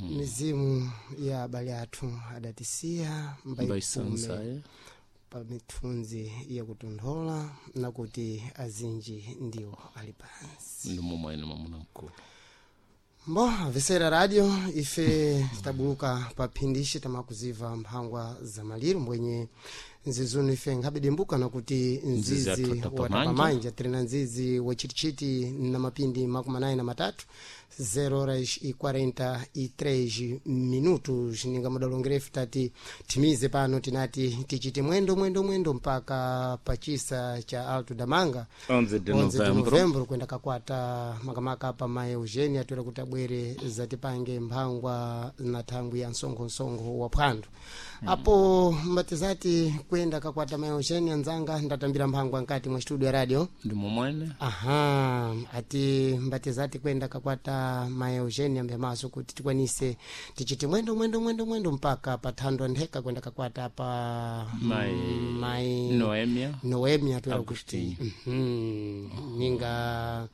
Mizimu ya abale athu adatisiya mbaikume Mbaisansaye pa mithunzi yakutonthola nakuti azinji ndiwo ali pansi. Ndi momwene, mwamuna mkulu. Mbo vesera radio, ife tabuluka pa phindishi tamakuziva mphangwa za maliro mbwenye nzizunu ife nkhabedembuka nakuti nzizi nzizi athu atapamanja. Watapamanja tiri nzizi wachitichiti na mapindi 43, 0 horas e 43 minutos. Ninga mudalongerefu tati timize pano, tinati tichite mwendo mwendo mwendo mpaka pachisa cha Alto Damanga 11 de 11 de novembro. Novembro, kwenda kakwata makamaka pa mai Eugenia atwera kuti abwere zatipange mphangwa na thangwi ya msonkhonsongho wa phwando. Apo mbatizati kwenda kakwata mai Eugenia nzanga ndatambira mphangwa nkati mwa studio ya radio. Ndi momwene. Aha, ati mbatizati kwenda kakwata mai Eugenia mphemaso kuti tikwanise tichite mwendo mwendo mwendo mwendo mpaka pa thandwa ntheka kwenda kakwata pa Mai mai Noemia. Noemi atwera kuti Agostinho. Ninga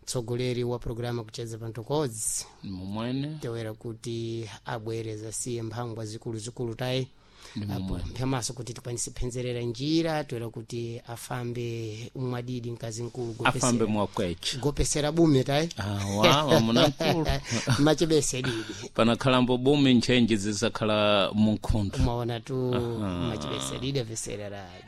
mtsogoleri wa programa kucheza pantokodzi. Ndi momwene. Tewera kuti abwere zasiye mphangwa zikuluzikulu tayi. Ndi Apo momwene. mphemaso kuti tikwanise phenzerera njira, toera kuti afambe mwadidi mkazi mkulu afambe mwakwecha. Gopesera bume tayi. Awa, mwamuna mkulu. Machebese didi. Panakhalambo bumi ntchenji zisakhala munkhundu. Umaona tu, machebese didi avesera radio.